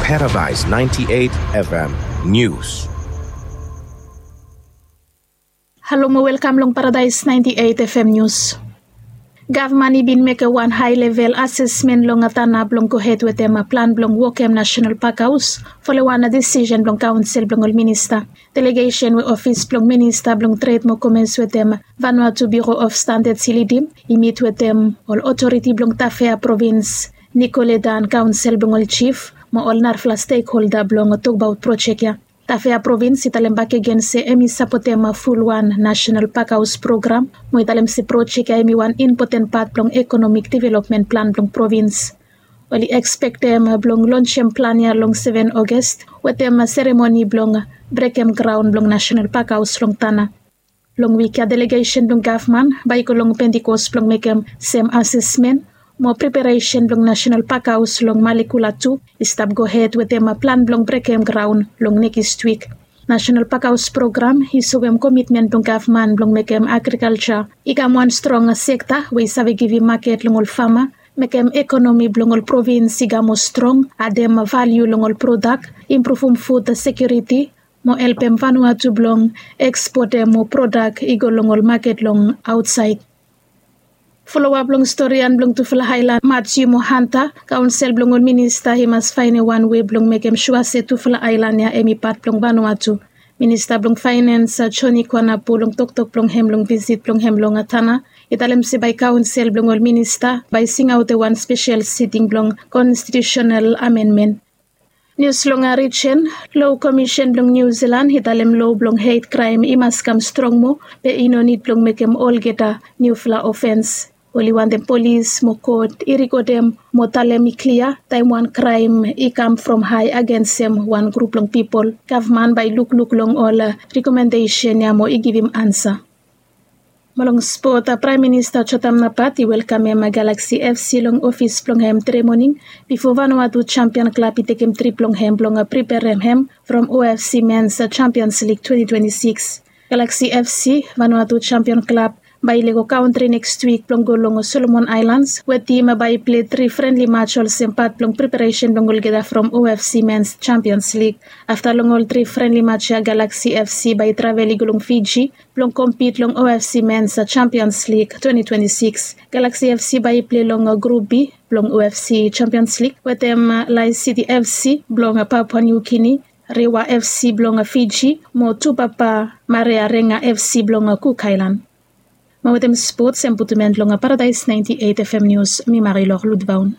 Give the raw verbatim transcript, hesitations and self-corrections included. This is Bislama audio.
Paradise ninety-eight F M News. Halo mo welkam long Paradise ninety-eight F M News. Gavman i bin mekem wan hae level asesmen long Tana blong gohed wetem plan blong wokem Nasenal Pak Haos folem wan desisen blong kaonsel blong ol minista. Delegesen we ofis blong minista blong tred mo komens wetem Vanuatu Biro of Standards i lidim i mit wetem ol otoriti blong Tafea provins, Nikoledan kaonsel blong ol jif mo ol narafala stekholda blong tokbaot projek ya. Tafea provins i talem bakegen se hem i sapotem fulwan Nasenal Pak Haos program mo i talem se projek ya hem i wan impoten pat blong ekonomik developmen plan blong provins. Oli ekspektem blong lonsem plan ya long seven August wetem seremoni blong brekem graon blong Nasenal Pak Haos long Tana. Long wik ya delegesen blong gavman bae i go long Pentikos blong mekem sem asesmen mo preparesen blong Nasenal Pak Haos long Malekula tu i stap gohed wetem plan blong brekem graon long nekis wik. Nasenal Pak Haos program i soem komitmen blong gavman blong mekem agrikalja i kam wan strong sekta we i save givim maket long ol fama, mekem ekonomi blong ol provins i kam moa strong, adem valiu long ol prodak, impruvum fud sekiuriti mo helpem Vanuatu blong ekspotem mo prodak i go long ol maket long aotsaed. Folowap long storian blong tufala aelan Matiu mo Hanta, kaonsel blong ol minista i mas faenem wan wei blong mekem sua se tufala aelan ya hem i pat blong Vanuatu. Minista blong faenens Joni Kwanapu long toktok blong hem long visit blong hem long Tana i talem se bae kaonsel blong ol minista bae singaotem wan spesel siting blong konstitiusenal amenmen. Nius long rijen, Lo Komisen blong Niu Silan i talem lo blong het kraem i mas kam strong moa be i no nid blong mekem olgeta niufala ofens. Oli wantem polis mo kot i rikodem mo talem i klia taem wan kraem i kam from hae agensem wan grup blong pipol. Gavman bae i lukluk long ol rekomendesen ya mo i givim ansa. Mo long spot, Praem Minista Jotam Napat i welkamem Galaxy F C long ofis blong hem tre moning bifo Vanuatu Jampian Klab i tekem trip blong hem blong preperem hem from O F C Mens Jampians Lig twenti twenti sikis. Galaxy F C, Vanuatu Jampian Klab, bae i lego kantri nekis wik blong go long Solomon Aelans we tim bae i pilei tri frenli mats olsem pat blong preparesen blong olgeta from O F C Mens Jampians Lig. Afta long ol tri frenli mats ya Galaxy F C bae i travel i go long Fiji blong kompit long O F C Mens Jampians Lig twenti twenti sikis. Galaxy F C bae i pilei long Grup B blong O F C Jampians Lig wetem Lae City F C blong Papua New Guinea, Rewa F C blong Fiji mo Tupapa Marearega F C blong Cook Island. Mo wetem spots hem putum en long Paradise ninety-eight F M News, mi Marilor Ludvaun.